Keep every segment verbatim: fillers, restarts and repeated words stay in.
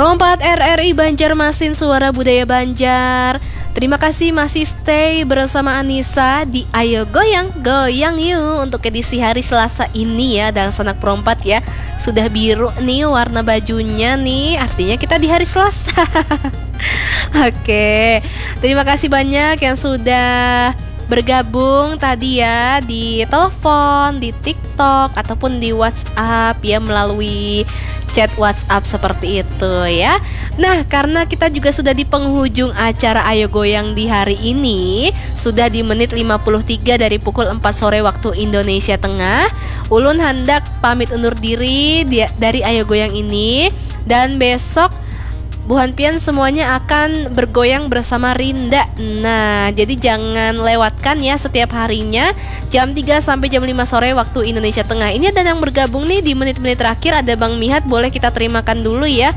Rompat R R I Banjarmasin, Suara Budaya Banjar. Terima kasih masih stay bersama Anissa di Ayo Goyang, Goyang Yuk untuk edisi hari Selasa ini ya, dangsanak perompat ya. Sudah biru nih warna bajunya nih, artinya kita di hari Selasa. Oke, terima kasih banyak yang sudah bergabung tadi ya di telepon, di TikTok, ataupun di WhatsApp ya, melalui chat WhatsApp seperti itu ya. Nah, karena kita juga sudah di penghujung acara Ayo Goyang di hari ini, sudah di menit lima puluh tiga dari pukul empat sore waktu Indonesia Tengah, ulun handak pamit undur diri di- dari Ayo Goyang ini, dan besok buhan pian semuanya akan bergoyang bersama Rinda. Nah, jadi jangan lewatkan ya setiap harinya jam tiga sampai jam lima sore waktu Indonesia Tengah. Ini ada yang bergabung nih di menit-menit terakhir, ada Bang Mihat, boleh kita terimakan dulu ya.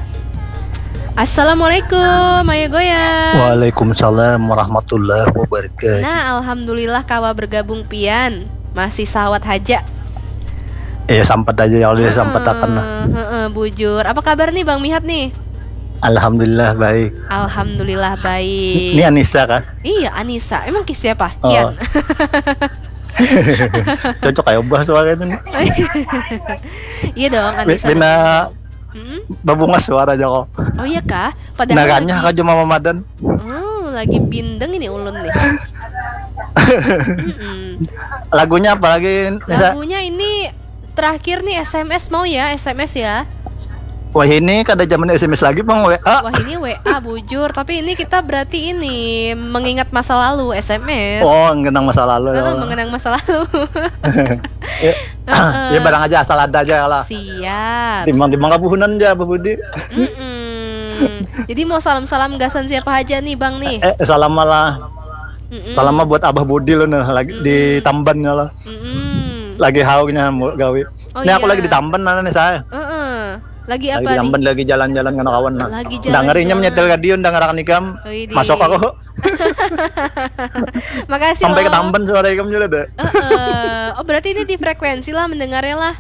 Assalamualaikum, Ayo Goyang. Waalaikumsalam warahmatullahi wabarakatuh. Nah, alhamdulillah kawa bergabung pian. Masih sawat haja. Eh, sampat aja ya, Allah, sampat akan lah. Heeh, heeh, bujur. Apa kabar nih Bang Mihat nih? Alhamdulillah baik. Alhamdulillah baik. Ini Anissa kah? Iya, Anissa. Emang ki siapa? Oh. Kian. Cocok kayak ubah suaranya nih. Iya dong, Anissa. Bina babungas suara aja kok. Oh iya kah? Padahal naganya lagi kak cuma mamadan. Oh, lagi bindeng ini ulun nih. Mm-mm. Lagunya apa lagi, Nisa? Lagunya ini terakhir nih S M S, mau ya, S M S ya. Wah, ini kada zaman S M S lagi, Bang, W A. Wah, ini W A bujur, tapi ini kita berarti ini mengingat masa lalu, S M S. Oh, mengenang masa lalu ya. Heeh, mengenang masa lalu. Ya, heeh, ya, barang aja asal ada aja lah. Siap. Timbang-timbang kabuhunan aja, Abah Budi. Mm-mm. Jadi mau salam-salam gasan siapa aja nih, Bang, nih? Eh, salam lah. Mm-mm. Salam buat Abah Budi lo nih, lagi di Tamban ya lah. Mm-mm. Lagi hauknya mau gawe. Oh, ini aku iya, lagi di Tamban, mana nih saya? Heeh. Lagi apa nih? Lagi di Tamban, lagi jalan-jalan kena kawan, nah. Lagi jalan-jalan. Dengerinnya menyetel radio, dengerakan ikam. Widih. Masuk aku. Makasih sampai ke Tamban suara ikam juga deh. Heeh. Oh, berarti ini di frekuensi lah mendengarnya lah.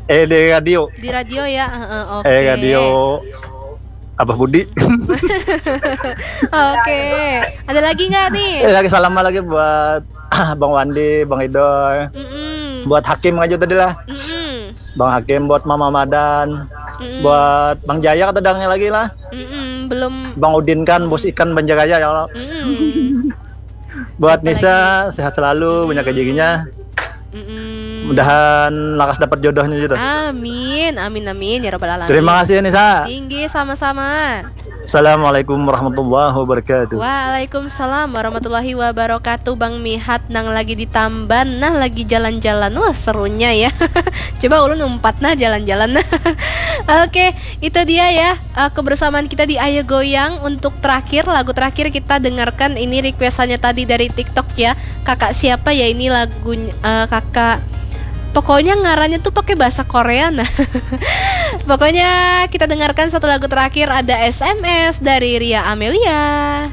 Eh, di radio. Di radio ya, heeh, oke. Eh, radio Abah Budi. Oke. Ada lagi nggak nih? Eh, lagi salam lagi buat Bang Wandi, Bang Idoy. Mm-mm. Buat Hakim aja tadi lah. Mm-mm. Bang Hakim, buat Mama Madan. Mm-mm. Buat Bang Jaya kata dangnya lagi lah. Mm-mm, belum. Bang Udin kan, bos ikan Banjaraya ya Allah. Mm-mm. Buat Nisa, sehat selalu, banyak rezekinya. Mm-mm. Mudahan lakas dapat jodohnya gitu. Amin, amin, amin, ya rabbal alamin. Terima kasih ya, Nisa. Tinggi, sama-sama. Assalamualaikum warahmatullahi wabarakatuh. Waalaikumsalam warahmatullahi wabarakatuh. Bang Mihat nang lagi di Tamban, nah, lagi jalan-jalan. Wah, serunya ya. Coba ulun umpat nah jalan-jalan. Oke, itu dia ya, eh, kebersamaan kita di Ayo Goyang. Untuk terakhir, lagu terakhir kita dengarkan ini requestannya tadi dari TikTok ya. Kakak siapa ya ini lagunya, eh, kakak, pokoknya ngarannya tuh pakai bahasa Korea, nah. Pokoknya kita dengarkan satu lagu terakhir, ada S M S dari Ria Amelia.